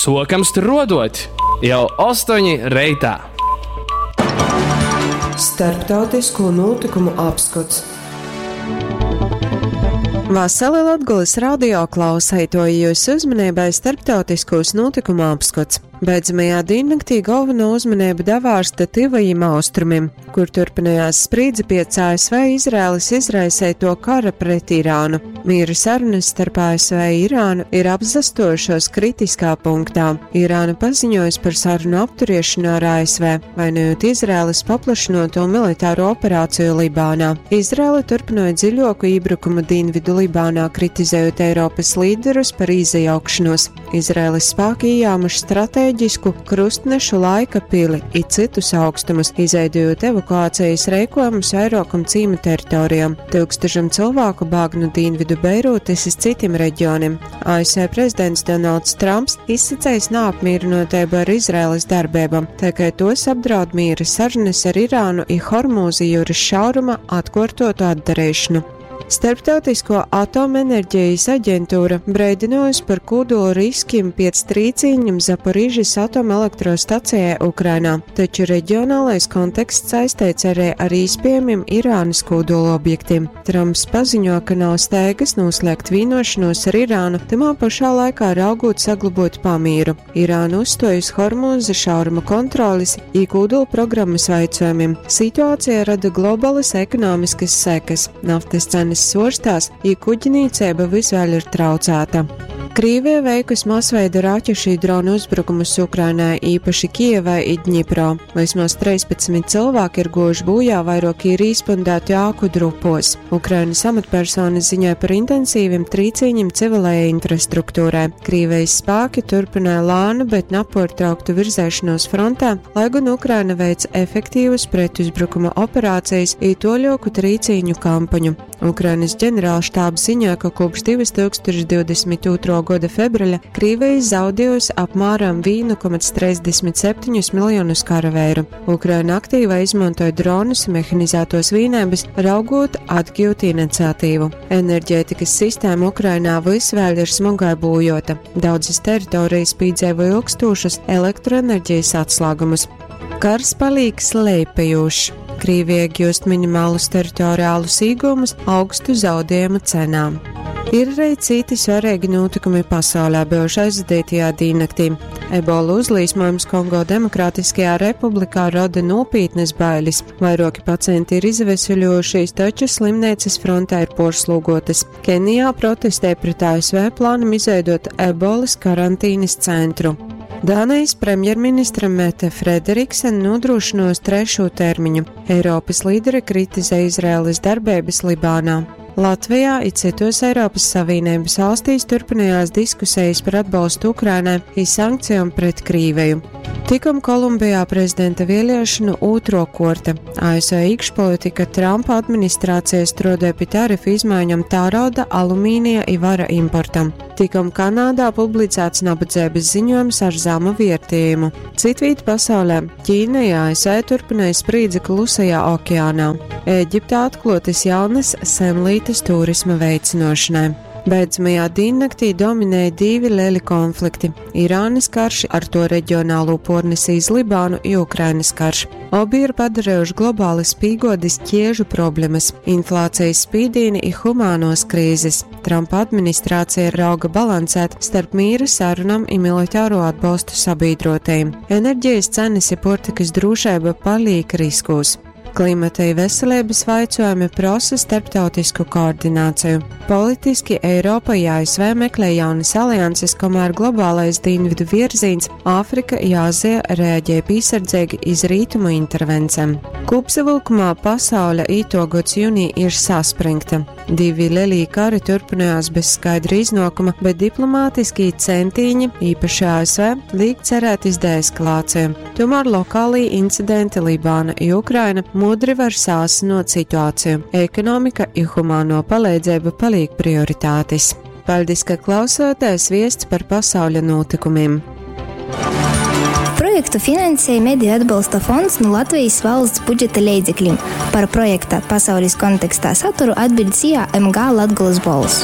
Suokam struoduot jau 8 reitā. Starptautisko notikumu apskots. Vasali Latgulas radio klauseitoji jūsu uzmanībai starptautiskos notikumu apskots. Beidzamajā diennaktī galveno uzmanību davārsta Tivajiem austrumiem, kur turpinājās sprīdze pēc ASV Izraēlas izraisēto kara pret Irānu. Miera sarunas starp ASV un Irānu ir apzastojušos kritiskā punktā. Irāna paziņojas par sarunu apturiešanu ar ASV, vainojot Izraēlas paplašinoto militāro operāciju Libānā. Izraēla turpināja dziļāku iebrukumu Dienvidu Libānā, kritizējot Eiropas līderus par izajaukšanos. Izraēlas spēki iejāmuši stratēģisku krustnešu laika pili i citus augstumus, izveidojot evakuācijas reikojumus vairākam cīma teritorijām. Tūkstošiem cilvēku bāg no Dienvidu Beirūtes iz citim reģioniem. ASV prezidents Donalds Trumps izsacējis neapmierinotību ar Izraēlas darbībām, tā kā tos apdraud miera sarunas ar Irānu i Hormūzi jūras šauruma atkārtotu atdarīšanu. Starptautisko atomenerģijas aģentūra breidinojusi par kūdolu riskiem pēc trīcīņiem Zaporižas atomelektrostacijai Ukrainā, taču reģionālais konteksts saistīts arī ar īspējamiem Irānas kūdolu objektiem. Trumps paziņo, ka nav steigas noslēgt vienošanos ar Irānu, tamā pašā laikā raugot saglabot pamīru. Irāna uzstojas Hormūza šauruma kontrolis i kūdolu programmas vaicojumiem. Situācija rada globalas ekonomiskas sekas. Naftas cenas sorstās, i kuģnīcība vis vēl ir traucēta. Krīvija veikusi masveida raķešu i dronu uzbrukumus Ukrainai, īpaši Kijevai i Dņipro. Vismaz 13 cilvēki ir guvuši bojā, vairāki ir izpundēti āku drupos. Ukrainas amatpersonas ziņoja par intensīviem trīcīņiem civilajai infrastruktūrai. Krīvijas spēki turpināja lēnu, bet nepārtrauktu virzēšanos frontē, lai gan Ukraina veic efektīvas pretuzbrukuma operācijas i toļoku trīcīņu kampaņu. Ukrainas ģenerālštābs ziņoja, ka kopš 2022. Gada februāra Krīvija zaudējusi apmēram 1,37 miljonus karaveiru. Ukraina aktīvi izmantoja dronus un mehanizētos vīnēbas, raugot atgūt iniciatīvu. Enerģētikas sistēma Ukrainā vis vēl ir smagai būjota. Daudzas teritorijas piedzīvo ilgstošas elektroenerģijas atslāgumus. Kars paliek slēpējošs. Krīvija iegūst minimālus teritoriālus iegūmus augstu zaudējumu cenām. Ir arī citi svarīgi notikumi pasaulē bijuši aizvadītajā diennaktī. Ebola uzlīsmojums Kongo Demokrātiskajā republikā rada nopietnas bailes. Vairāki pacienti ir izveseļojušies, taču slimnīcas frontē ir porslūgotas. Kenijā protestē pret ASV plānam izveidot ebolas karantīnas centru. Dānijas premjerministra Mete Frederiksen nodrošinos trešo termiņu. Eiropas līderi kritizē Izraēlas darbības Libānā. Latvijā i citos Eiropas Savienības valstīs turpinājās diskusijas par atbalstu Ukrainai i sankcijām pret Krīveju. Tikom Kolumbijā prezidenta vēlēšanu otro korta. ASV iekšpolitika Trumpa administrācija strādāja pie tarifu izmaiņām tārauda, alumīnija i vara importam. Tikom Kanādā publicēts nabadzības ziņojums ar zemu vērtējumu. Citvīt pasaulē Ķīna i ASV turpināja sprīdzi Klusajā okeānā. Ēģiptā atklotas jaunas senlītes turisma veicinošanai. Beidzamajā diennaktī dominēja divi lieli konflikti - Irānas karš ar to reģionālo pornesi iz Libānu i Ukrainas karš. Obi ir padarījuši globāli spīgodis ķiežu problēmas, inflācijas spīdīni i humānos krīzes. Trumpa administrācija rauga balansēt starp mīra sarunam i militāro atbalstu sabiedrotajiem. Enerģijas cenas i portikas drošība paliek riskos. Klimata i veselības vaicojumi prasa starptautisku koordināciju. Politiski Eiropa i ASV meklē jaunas alianses, kamēr globālais dienvidu virziens Āfrika i Āzija reaģē piesardzīgi iz rītumu intervencēm. Kopsavilkumā pasaule ītogods jūnī ir saspringta. Divi lielī kari turpinājās bez skaidra iznākuma, bet diplomātiskī centīņi, īpaši ASV, liek cerēt iz deeskalāciju. Tomēr lokālī incidenti Libāna i Ukraina mudri var sāsinot situāciju. Ekonomika i humāno palīdzība paliek prioritātes. Paldies, ka klausāties viests par pasauļa notikumiem. Projektu finansēja Mediju atbalsta fonds no Latvijas valsts budžeta leidzekļiem. Par projekta pasaules kontekstā saturu atbild SIA MG Latgulas bols.